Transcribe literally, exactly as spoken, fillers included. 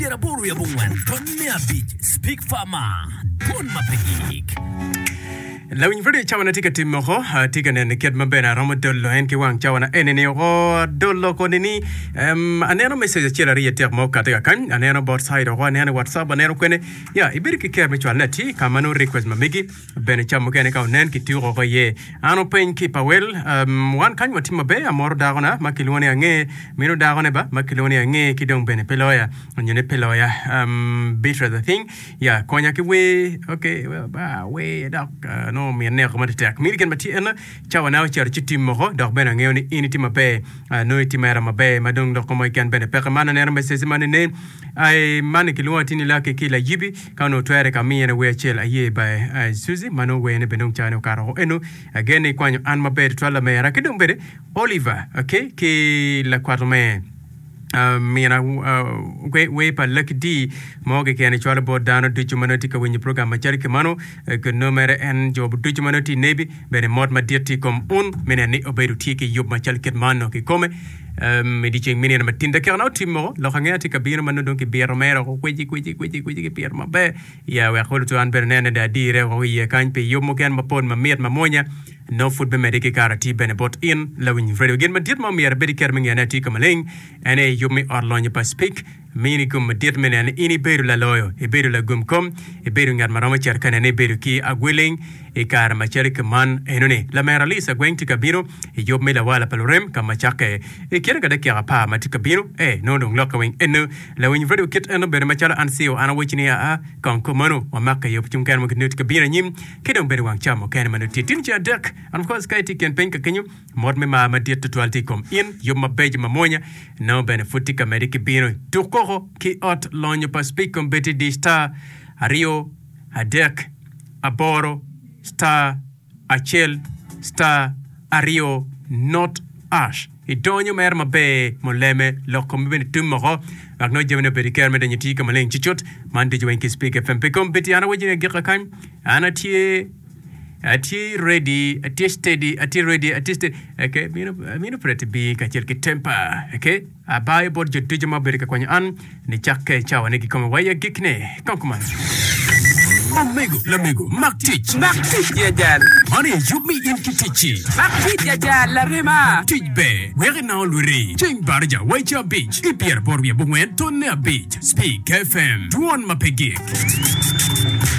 Pyeraboro wiye abongwen tonne abic Speak Farmer Dwon ma pe gik. Lawiny pud i cawa-na tye ka timo oko, atye ka neno kit ma bene aromo dolo en ki wang cawa-na eni-ni oko. Adolo koni ni em, aneno message acel aryo adek ma okati kakany, aneno bot side oko, aneno i WhatsApp, aneno kwene. Ya, ibedo ki ker me cwalone atir ka ma nongo request ma megi bene ca mukene ka onen kituko oko iye. An openy ki pa wel, em, wan kany watye maber, amoro dakona ma kilwongo ni Ange, meno dakone ba ma kilwongo ni Ange ki dong bene pe loya, onyo ni pe loya. Em, Beatrice I think. Ya, konya ki wer. Ok, well, ba, wer dok uh, nongo omiyo neko matetek. Mini gin ma tye eno, cawa na ocito ci tim moko, dok bene angeyo ni in itye maber, uh, nongo itye mera maber, ma dong lok mo keken bene peke. Man aneno message man nen, ai, man kilwongo atir ni Lucky ki Layibi, ka onongo twere ka miyene wer acel aye by uh, Suzy, ma nongo wer ne bene dong cawa ne okato woko eno. Again ni ikwanyo an maber tutwal lamera, ki dong bene Oliver, ok, ki lakwato me. Mina wer pa Lucky Dee mo keken ecwalo bot dano ducu ma nongo tye ka winyo program macalo ki mano. Nongo mere en jo ducu ma nongo tye i nebi bene mot madit tye i kom un me neno ni obedo tye ki yub macalo kit mano kikome. I dyeceng me nino matin dakika na otim moko lok angeya tye ka bino ma nongo dong kibito mere woko kweci kweci kweci kweci kipito maber ya wek olo an bene nene dong adire woko iye kany pi yub mukene mapol mamit mamwonya. Nongo pud bimedde ki kare atir bene bot in lawiny redio. Gin madit ma omyero ibed iketo me ngeyone atir ka maleng en aye yub me ot lonyo pa Speke mini gum madit me neno ni in ibedo laloyo, ibedo lagum kom, ibedo ngat ma romo cito ka nene ibedo ki agweleng i kare macalo ki man enoni. Lamera Lisa Gweng tye ka bino i yub me lawala pa lurem ka ma cakke i kine ka dakika apar ma tye ka bino. Ee, nongo dong lokke weng eno. Lawiny redio kit eno bene macalo an CO an awecci ni aa kong kumeno wamakke i yub cung kene mo ki nongo tye ka bino anyim. Ki dong bedo wang ca mukene ma nongo tye tin ceng adek. And of course ka itye i kin piny ka kenyo, mot me mar madit tutwal tye i kom in. Yub mabeco mamwonya nongo bene pud tye ka medde ki bino. Tuk koko ki ot lonyo pa Speak Kombeddi di star aryo adek aboro star acel star aryo not ash. Idonyo mere maber muleme lok komi bene tum moko wek nongo jamine obed ki kero me donyo i tii ka maleng cucut. Man ducu weng ki Speak F M pi kombeddi an awaco ni agika kany an atye atye ready atye steady atye ready atye steady okay mino mino Pretty B kacel ki Temper okay abayo bot jo ducu ma obedo ka kwanyo an Nicakke i cawane kikome wa i agikne. Kong kuman. Omego, lamego, mak tic. Mak tic ya jal. Man aye yub me in ki ticci. Mak tic ya jal, larema. Tic ber, wek inang olwiri. Ceng baraja wa i ca abic ki pyeraboro wiye abongwen tonne abic. Speak F M, dwon ma pe gik.